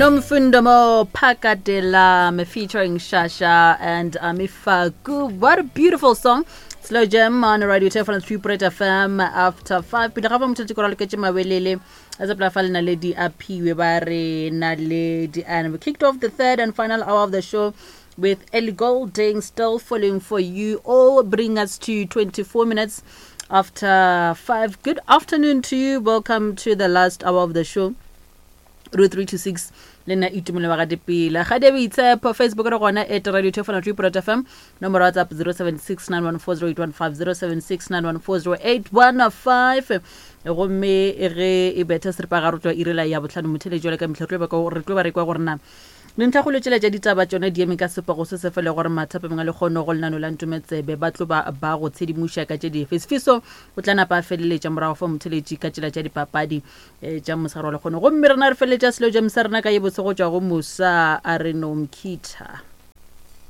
Nomfundo Mo Phakadela featuring Shasha and Amifaku. What a beautiful song. Slow Jam on Radio Teflon 3 FM after 5. Pele ga fa motho tse loketše mawelele a tsa fa le naledi a phiwe ba re naledi and we kicked off the third and final hour of the show with Ellie Goulding still falling for you all bring us to 24 minutes after 5 good afternoon to you welcome to the last hour of the show ro 3 to 6 le nna itumelo wa gadipila ga de boitshepo facebook re gona at radio tefona 3 fm nomoro whatsapp 076 9140815 gomme ge e betha seripagare tlo irela ya botlhano motheletši jale ka mehla re tlo ba re kwa gore na Dintlhakgolo tšela tša ditaba tšona di eme ka sepego se se fele gore mathapameng a lekgono go lenano la Ntometsebe ba tlo ba ba go tshedimoša ka tše dife. Sefiso o tla napa a feleletša morago fa motheletši ka tšela tša dipapadi eh, tša mosegare wa lekgono. Gomme rena re feleletša selo jam sa rena ka ye bose go tšwa go Musa a re Nomkhitha.